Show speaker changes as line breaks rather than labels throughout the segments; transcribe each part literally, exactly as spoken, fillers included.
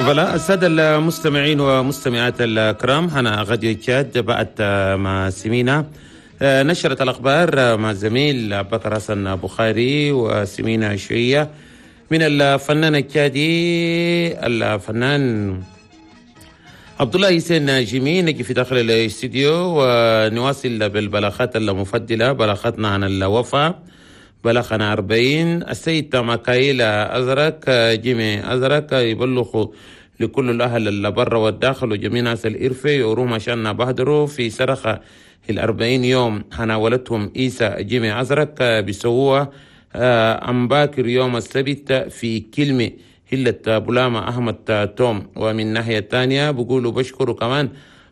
Voilà السادة المستمعين ومستمعات الكرام، هنا راديو تشاد بعد ما سمينا نشرة الأخبار مع الزميل بكر حسن بخاري، وسمينا شوية من الفنان التشادي الفنان عبد الله حسين جيمي. نجي في داخل الاستديو ونواصل بالبلاغات المفضلة، بلاغاتنا عن الوفاة، بلاغنا أربعين. السيد مكايل أزرق جيمي أزرق يبلغ لكل الأهل اللي برا والداخل وجميع ناس الإرفي يوروهم عشان بهدروا في صرخة الأربعين يوم حناولتهم إيسا جيمي أزرق بيسووها أم باكر يوم السبت في كلمة هلة بلامة أحمد توم. ومن ناحية تانية بقولوا بشكروا كمان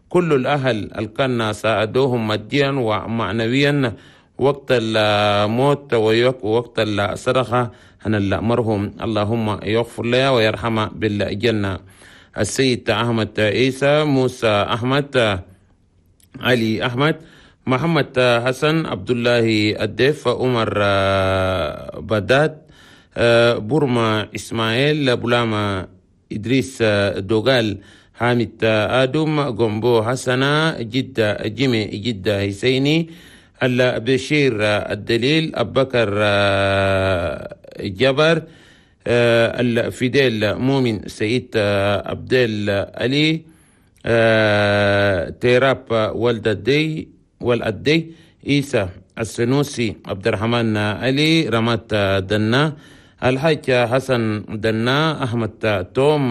كل الأهل اللي كان ساعدوهم ماديا ومعنويا وقت الموت ووقت الصرخة أن المرهم اللهم يغفر لها ويرحمها بالجنة. السيد أحمد عيسى، موسى أحمد، علي أحمد، محمد حسن، عبد الله الديف، عمر بداد، بورما إسماعيل، بولاما إدريس دوغال، حامد آدم، غومبو حسنة، جدة جيمي، جدة حسيني، البشير الدليل، أبكر جبر، الفيديل مؤمن، سعيد عبدال علي، تيراب ولد الدي والأدي، عيسى السنوسي، عبد الرحمن علي، رمات دنا، الحاج حسن دنا، أحمد توم،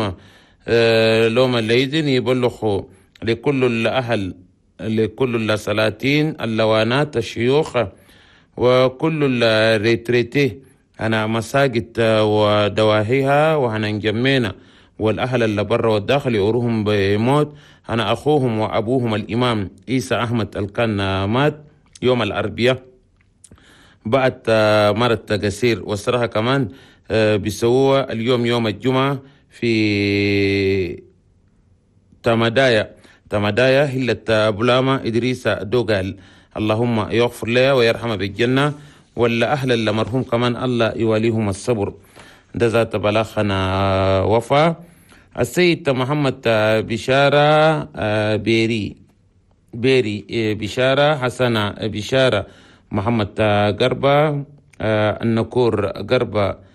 لوم الليزن يبلغوا لكل الأهل، لكل السلاطين، اللوانات، الشيوخ وكل ال retraités أنا مساجد ودواهيها وهنا نجمينا والأهل اللي برا والداخل يوروهم بموت أنا أخوهم وأبوهم الإمام عيسى أحمد الكان مات يوم الأربعاء بعد مرت قصير. والصراحة كمان بيسووها اليوم يوم الجمعة في تمدايا تمدايا هلة بلاما إدريس دوغال، اللهم يغفر لها ويرحمها بالجنة، ولا أهل المرحوم كمان الله يواليهم الصبر. ده ذات بلاخنا وفا. السيد محمد بشارة بيري بيري بشارة، حسن بشارة، محمد قربة، النكور قربة،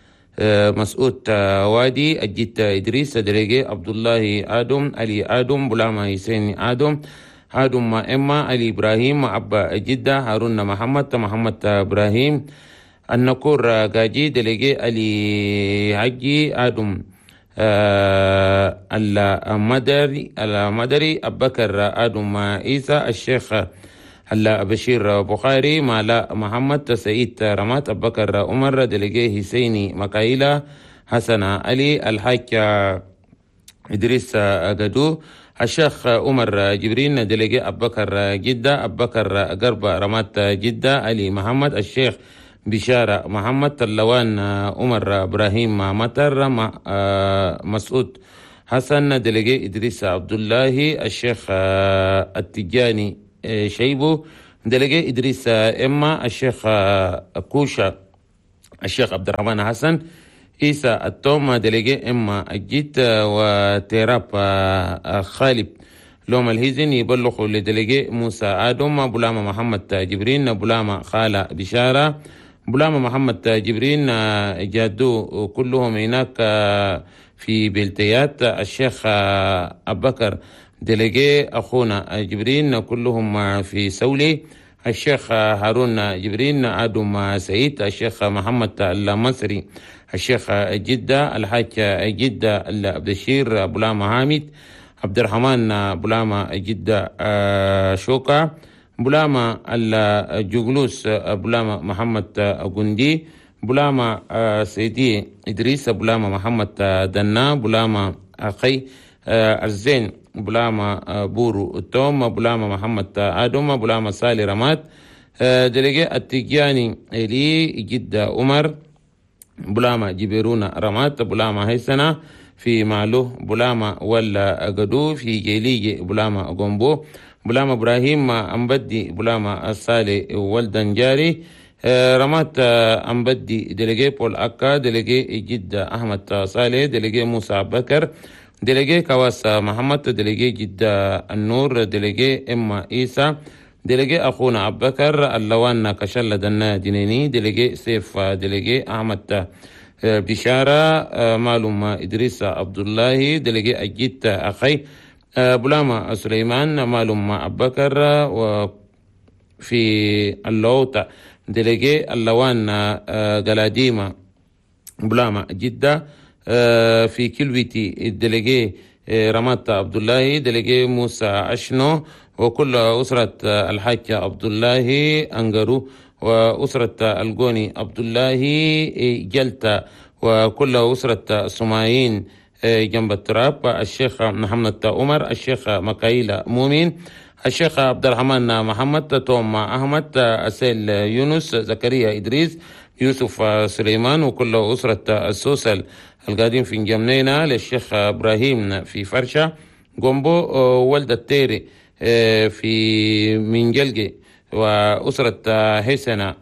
مسعود وادي، الجيت إدريس دريجي، عبد الله آدم، علي آدم، بلاما حسين آدم، آدم إما، علي إبراهيم، أبا جدة، هارون محمد، محمد إبراهيم، النكور قاجي، دليجي علي حجي، آدم آه المدري المدري، أبكر آدم عيسى، الشيخ هلا بشير بخاري، مالا محمد، سعيد رمات، أبكر عمر، دليجي حسيني مكايلة، حسن علي، الحاج إدريس قدو، الشيخ عمر جبرين، دليجي أبكر جدة، أبكر قربة رمات جدة، علي محمد، الشيخ بشارة محمد، اللوان عمر إبراهيم مطر، مسعود حسن، دليجي إدريس عبد الله، الشيخ التجاني شيبو، دليجي إدريس إما، الشيخ كوشا، الشيخ عبد الرحمن حسن، عيسى التوم، دليجي إما الجيت، وتيراب خالد لوم الهزن يبلغوا لدليجي موسى آدم، بلاما محمد جبرين، بلاما خالة بشارة، بلاما محمد جبرين جادو كلهم هناك في بلتيات، الشيخ أبكر دليجي أخونا جبرين كلهم في سولي، الشيخ هارون جبرين، آدم سعيد، الشيخ محمد المصري، الشيخ جدة، الحاج جدة البشير، بلاما حامد، عبد الرحمن بلاما جدة شوكا، بلاما الجغلوس، بلاما محمد قندي، بلاما سيدي إدريس، بلاما محمد دنا، بلاما أخي الزين، بلاما بورو توم، بلاما محمد آدم، بلاما سالي رمات، دليجي التجاني إلي جدة عمر، بلاما جبيرونا رمات، بلاما هيسنا في مالو، بلاما ولا قدو في جيليجي، بلاما غومبو، بلاما إبراهيم أمبدي، بلاما السالي ولدن جاري، رمات أمبدي، دليجي بول أكا، دليجي جدة أحمد صالح، دليجي موسى بكر، délégué كواس محمد، délégué جدة النور، délégué إما إيسا، délégué أخونا أبو بكر اللوان كشلة دنا دينيني، délégué سيف، délégué أحمد بشارة، معلوم إدريس عبد الله، délégué أجيت أخي بلاما سليمان، معلوم أبو بكر وفي اللوطة، délégué اللوان قلاديمة بلاما جدة، في كلويتي délégué رمات عبد الله، délégué موسى أشنو، وكل أسرة الحاج عبد الله أنجرو، وأسرة الجوني عبد الله جلتا، وكل أسرة سمايين جنب التراب، الشيخ محمد عمر، الشيخ مكايلة مؤمن، الشيخ عبد الرحمن محمد، توم أحمد، أسيل يونس، زكريا إدريس، يوسف سليمان، وكل أسرة السوسل القادم في جمنينا، للشيخ إبراهيم في فرشة جومبو، ولد التيري في منجلجي، وأسرة حسنة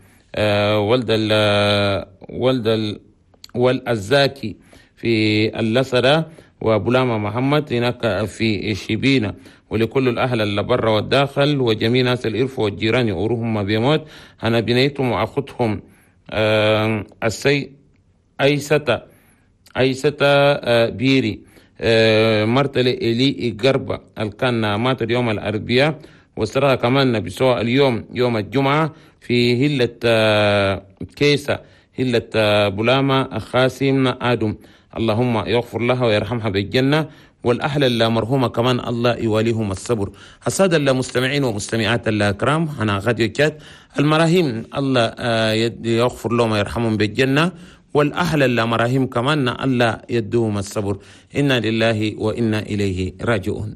ولد ال ولد ال والأزاكي في اللسرة، وبلاما محمد هناك في شبينة، ولكل الأهل اللي برا والداخل وجميع ناس الإرف والجيران يقروهم ما بيموت. أنا بنيتهم وأخذهم السي أيستا أيستا بيري مرتلي إلي قربة الكان مات اليوم الأربعاء، وسرها كمان بسوء اليوم يوم الجمعة في هلة كيسة هلة بلاما خاسم آدم، اللهم يغفر لها ويرحمها بالجنة، والأهل المرحومة كمان الله يواليهم الصبر. السادة المستمعين ومستمعات الكرام، أنا غاديو تشاد المراهيم الله يغفر لهم ويرحمهم بالجنة، والأهل المراهيم كمان الله يدوهم الصبر. إنا لله وإنا إليه راجعون.